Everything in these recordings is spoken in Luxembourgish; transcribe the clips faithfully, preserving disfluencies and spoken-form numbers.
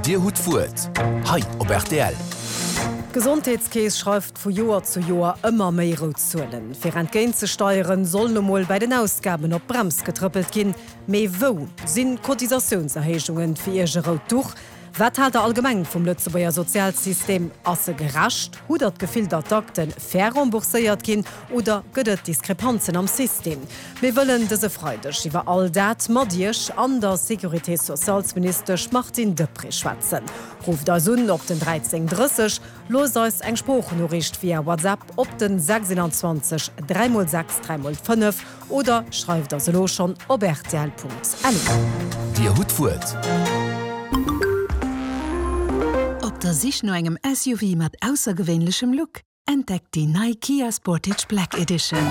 Dir hutt d'Wuert hei op rtl. D'Gesondheetskeess schreift vu Joer zu Joer ëmmer méi rout Zuelen. Fir entgéint ze steieren, soll lo mol bei den Ausgaben op d'Brems getrëppelt ginn. Mee wou sinn Cotisatiounserhéijungen fir Iech e rout Duch? Wat haalt der allgemeng vum Lëtzebuerger Sozialsystem? Ass e gerecht? Hutt der d'Gefill, datt d'Akte fair rembourséiert ginn oder gëtt et Diskrepanzen am System? Mir wëllen dëse Freideg iwwer all dat mat Iech an der Sécurité-sociales-Ministesch Martine Deprez schwätzen. Rufft eis un op den dräizéng drësseg, loosst eis eng Sproochnoriicht via WhatsApp op den sechsundzwanzeg dräi mol sechs dräi mol fënnef oder schreift eis elo schonn op rtl.lu. Dir hutt d'Wuert. Op der Sich no engem S U V mat aussergewéinlechem Look? Entdeckt déi nei Kia Sportage Black Edition.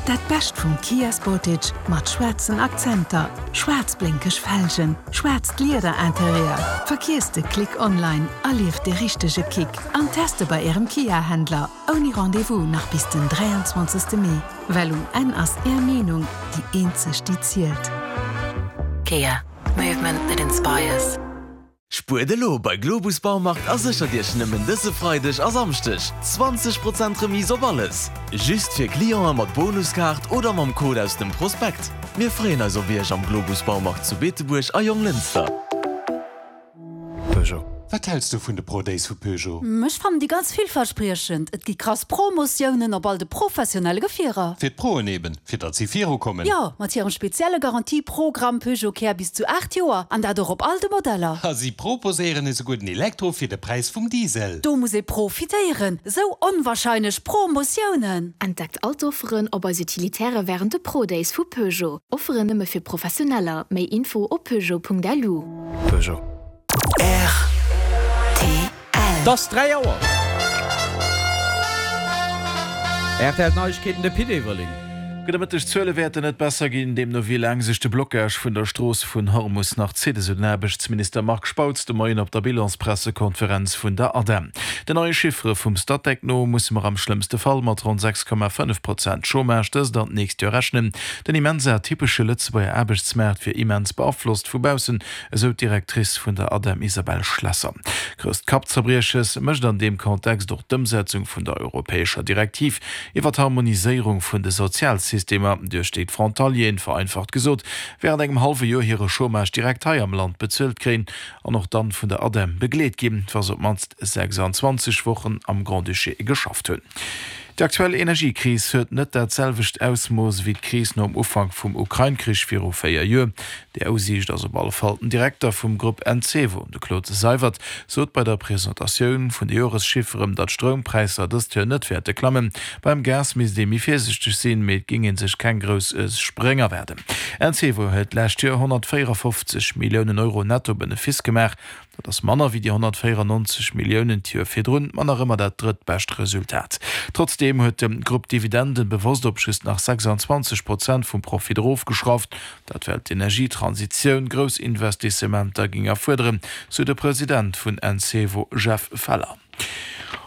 Dat Bescht vum Kia Sportage mat schwaarzen Akzenter, schwaarz blénkeg Felgen, schwaarzt Lieder-Interieur. Vergiesst de Klick online, erlieft de richtege Kick an teste bei Ärem Kia-Händler ouni Rendez-vous nach bis den dräianzwanzegste Mee. Well um Enn ass Är Meenung déi eenzeg, déi zielt. Kia, movement that inspires. Spuert elo bei Globus Baumarkt a séchert Iech nëmmen dëse Freideg a Samschdeg zwanzeg Prozent Remise op alles! Just fir Cliente mat Bonuskaart oder mam Code aus dem Prospekt. Mir freeën eis op Iech am Globus Baumarkt zu Beetebuerg a Jonglënster. Peugeot. Wat häls du vun de Pro Days vu Peugeot? Ech fannen déi ganz villverspriechend. Et gi krass Promotiounen op all de professionelle Gefierer. Fir d'Proen eben, fir datt si virukommen. Jo, mat hirem spezielle Garantieprogramm Peugeot Care bis zu aacht Joer an dat och op all de Modeller. A si proposéieren esouguer den Elektro fir de Präis vum Diesel. Do muss ee profitéieren, sou onwarscheinlech Promotiounen! Entdeckt all d'Offeren op eis Utilitäre wärend de Pro Days vu Peugeot. Offeren nëmme fir Professioneller. Méi Info op peugeot.lu. Peugeot. R T L. Et ass dräi Auer. R T L Neiegkeeten, de Pit Everling. Gudde Mëtteg. D'Zuele wäerten net besser ginn, deemno wéi laang sech de Blockage vun der Strooss vun Hormus nach zitt, esou den Aarbechtsminister Marc Spautz de Moien op der Bilanspressekonferenz vun der ADEM. Den neie Chiffere vum Statec no musse mer am schlëmmste Fall mat ronn sechs Komma fënnef Prozent Chômage dëst an d'nächst Joer rechnen. Den immens atypesche Lëtzebuerger Aarbechtsmaart wier immens beaflosst vu baussen, esou d'Directrice vun der ADEM Isabelle Schlesser. Grousst Kappzerbrieches mécht an deem Kontext och d'Ëmsetzung vun der europäescher Direktiv iwwer d'Harmoniséierung vun de Sozialsystemer, duerch déi d'Frontalieren, vereinfacht gesot, wärend engem hallwe Joer hire Chômage direkt hei am Land bezuelt kréien an och dann vun der ADEM begleet ginn, wa se op d'mannst sechsundzwanzeg Wochen am Grand-Duché geschafft hunn. Déi aktuell Energiekris huet net dat selwecht Ausmooss wéi d'Kris nom Ufank vum Ukrain-Krich viru véier Joer. Déi Aussiicht ass op alle Fall den Direkter vum Grupp Encevo, de Claude Seywert, sot bei der Presentatioun vun de Joreschifferen, datt d'Stroumpräisser dëst Joer net wäerte klammen. Beim Gas misst ee méi virsiichteg sinn, mee et géing ee sech keng grouss Spréng erwaarden. Encevo huet d'lescht Joer honnertvéierafofzeg Milliounen Euro Netto-Benefice gemaach. Dat ass manner wéi déi honnertvéierannonzeg Milliounen d'Joer virdrun, ma nach ëmmer dat drëttbescht Resultat. Trotzdeem huet de Grupp d'Dividenden bewosst op just nach sechsundzwanzeg Prozent vum Profit erofgeschrauft. Dat well d'Energietransitioun grouss Investissementer géing erfuerderen, sou de President vun Encevo Jeff Feller.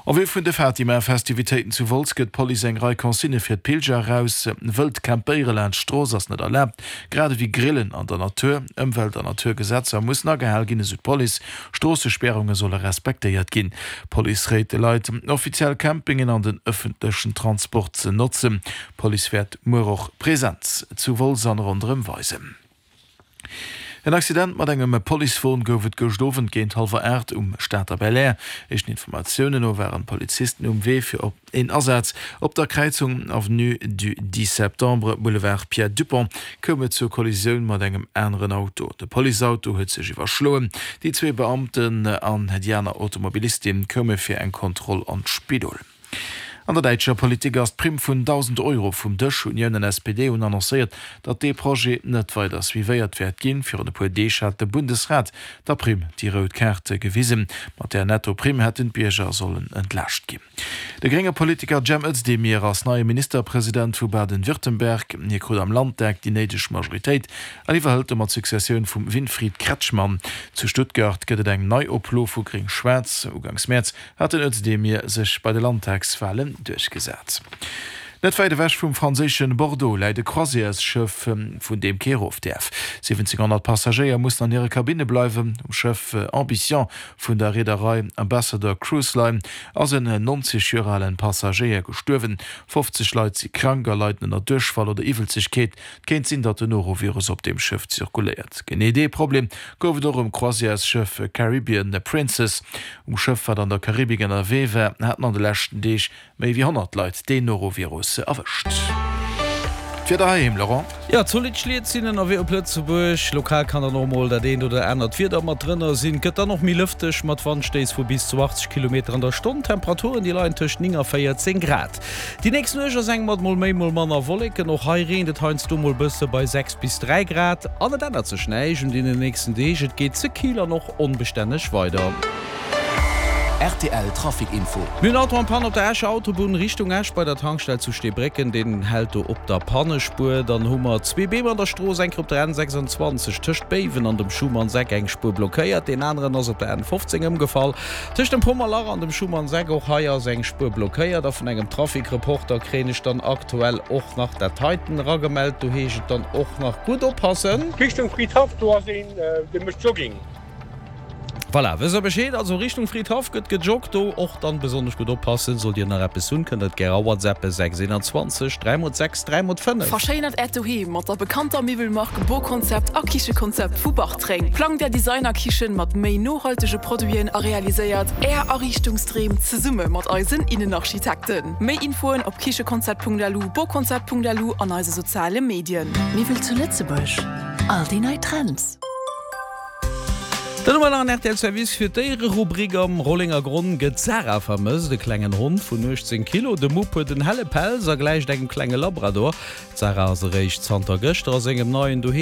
En vue vun de Fatima-Festivitéiten zu Wolz gëtt d'Police eng Rei Consignë fir d'Pilger eraus. Wëllt campéiere laanscht d'Strooss ass net erlaabt, grad ewéi Grillen an der Natur. Ëmwelt an Naturgesetzer mussen agehal ginn, esou d'Police. Stroossespäerunge solle respektéiert ginn. D'Police réit de Leit, offiziell Campingen an den ëffentlechen Transport ze notzen. D'Police wäert muer och Presenz zu Wolz an ronderëm weisen. En Accident mat engem Policewon gouf et gëscht Owend géint hallwer aacht um Stater Belair. Éischten Informatiounen no waren d'Polizisten um Wee fir op een Asaz. Op der Kräizung Avenue du dix septembre, Boulevard Pierre Dupong koum et zur Kollisioun mat engem aneren Auto. De Policeauto huet sech iwwerschloen. Déi zwee Beamten an déi aner Automobilistin koume fir eng Kontroll an d'Spidol. An der däitscher Politik ass d'Primm vun dausend Euro vum Dësch. Unioun an S P D hunn annoncéiert, datt dee Projet net weider suivéiert wäert ginn. Virun e puer Deeg hat de Bundesrat der Primm déi rout Kaart gewisen. Mat där Netto-Primm hätten d'Bierger sollen entlaascht ginn. De grénge Politiker Cem Özdemir ass neie Ministerpresident vu Baden-Württemberg. Hie krut am Landtag déi néideg Majoritéit an iwwerhëlt domat d'Successioun vum Winfried Kretschmann. Zu Stuttgart gëtt et eng Neioplo vu Gréng-Schwaarz. Ugangs Mäerz hat den Özdemir sech bei de Landtagswalen duerchgesat. Net wäit ewech vum franséische Bordeaux läit e Croisièresschëff, vun deem kee erof däerf. Siwwenzénghonnert Passagéier mussen an hire Kabinne bleiwen. Um Schëff Ambition vun der Reederei Ambassador Cruise Line ass en nonzeg Joer alen Passagéier gestuerwen. fofzeg Leit si krank a leiden ënner Duerchfall oder Iwwelzegkeet. Et kéint sinn, datt den Norovirus op deem Schëff zirkuléiert. Genee dee Problem gouf et och um Croisièresschëff Caribbean Princess. Um Schëff, wat an der Karibik ënnerwee war, haten an de leschten Deeg Méi wéi honnert Leit deen Norovirus erwëscht. D'Wieder heiheem, Laurent? Jo, zolidd Schliet sinn ënnerwee op Lëtzebuerg. Lokal kann dann och mol dat eent oder anert Wieder mat drënner sinn. Gëtt dann och méi lëfteg mat Wandstéiss vu bis zu achtzeg Kilometer an der Stonn. D'Temperaturen, déi leien tëscht néng a véierzéng Grad. Déi nächst Nuecht ass eng mat mol méi, mol manner Wolleken. Och hei reent et heiansdo mol bësse bei sechs bis dräi Grad. An et ännert sech näischt un deenen nächsten Deeg, et geet ze kill an och onbestänneg weider. Rtl Trafic Info. Mir hunn Auto en Panne op der Escher Autobunn Richtung Esch bei der Tankstell zu Steebrécken. Deen hält do op der Pannespuer. Dann hu mer zwee Beem an der Strooss, eng Kéier op der N sechsundzwanzeg tëscht Béiwen an dem Schumannseck eng Spuer blockéiert. Deen aneren ass op der N fofzéng ëmgefall tëscht dem Pommerlach an dem Schumannseck. Och hei ass eng Spuer blockéiert. A vun engem Trafic-Reporter kréien ech dann aktuell och nach dat heiten eragemellt. Do heescht et dann och nach gutt oppassen. Richtung Fridhaff, do ass een dee mécht Jogging. Voilà, wësst der Bescheed, also Richtung Fridhaff gëtt gejoggt, do och dann besonnesch gutt oppassen. Sollt dir nach eppes hunn, kënnt der et gär awhatsappen, sechs eenanzwanzeg dräi mol sechs dräi mol fënnef. Verschéinert Äert Doheem mat der bekannter Miwwelmark Boconcept a Kichekonzept vu Bartreng. Plangt Är Designerkichen mat méi nohaltege Produiten a realiséiert Är Ariichtungsdreem zesumme mat eisen Innenarchitekten. Méi Infoen op kichekonzept.lu, boconcept.lu an eise soziale Medien. Miwwel zu Lëtzebuerg, all déi nei Trends. Dann hu mer nach en rtl Service fir d'Déiererubrik. Am Rollengergronn gëtt d'Sarah vermësst, e klengen Hond vun uechtzéng Kilo. De Mupp huet en helle Pelz a gläicht engem klenge Labrador. D'Sarah ass eréischt zanter gëschter a sengem neien Doheem.